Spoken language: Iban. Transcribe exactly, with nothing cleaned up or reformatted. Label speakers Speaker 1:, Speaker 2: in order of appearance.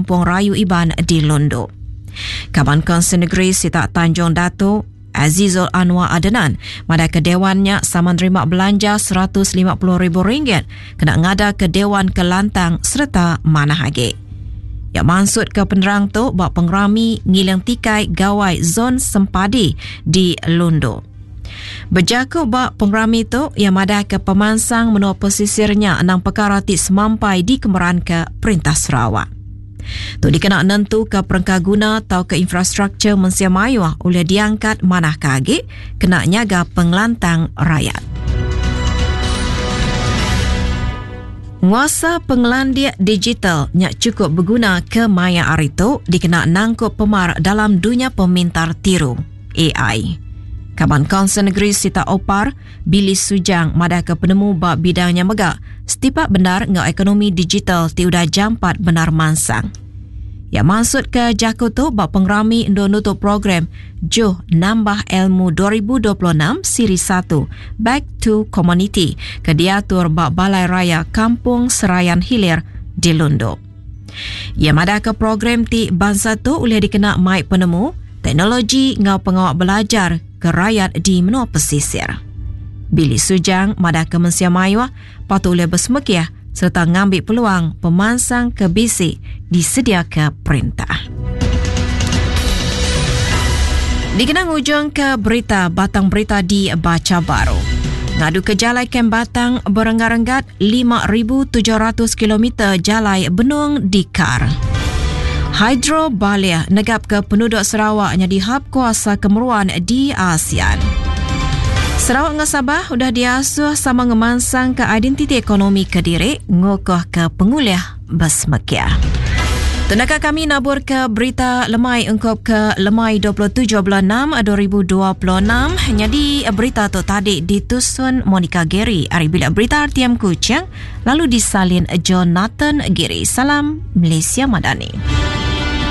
Speaker 1: Kampung Rayu Iban di Lundu. Kaban Kaunsil Negeri Sitak Tanjung Datu, Azizul Anwar Adenan madahka dewan nya sama nerima belanja seratus lima puluh ribu ringgit kena ngadaka dewan ke lantang sereta manah agi. Ya maksud ke penerang tu ba pengerami ngiling tikai gawai Zon Sempadi di Lundu. Berjaku ba pengerami tu, ia madah ke pemansang menua pesisirnya enam perkara ti semampai dikemeran ke Perintah Sarawak. Tu dikena nentu ke perengka guna atau ke infrastruktur mensia mayuh oleh diangkat manah ke agi kena nyaga pengelantang rakyat. Nguasa pengelandik digital nyak cukup berguna ke maya hari tu dikena nangkup pemar dalam dunia pemintar tiru A I. Kaban Kaunsil Negeri Sita Opar, Billy Sujang madah ke penemu ba bidangnya mega setipak benar ngau ekonomi digital ti udah jampat benar mansang. Ya maksud ke jaku tu ba pengerami endo nutup program Juh Nambah Ilmu dua ribu dua puluh enam Siri satu Back to Community ke diatur ba Balai Raya Kampung Serayan Hilir di Lundu. Ya madah ke program ti bangsa tu boleh dikena mai penemu, teknologi ngau pengawak belajar ke rakyat di menua pesisir. Billy Sujang madah ke mensia mayuh patut boleh bersemekiah serta ngambil peluang pemansang ke bisi disedia ke perintah. Dikenang ujung ke berita batang berita di baca baru. Ngadu ke jalai Kem Batang berenggat-renggat lima ribu tujuh ratus kilometer jalai Benung Dikar. Hydro Balia negap ke penduduk Sarawak jadi hub kuasa kemeruan di ASEAN. Sarawak dengan Sabah udah diasuh sama ngemansang ke identiti ekonomi ke diri ngokoh ke penguliah bersemekia. Tenaka kami nabur ke berita lemai engkau ke lemai dua puluh tujuh bulan enam dua ribu dua puluh enam. Jadi berita tu tadi ditusun Monica Gary hari bila berita R T M Kuching lalu disalin Jonathan Gary. Salam Malaysia Madani.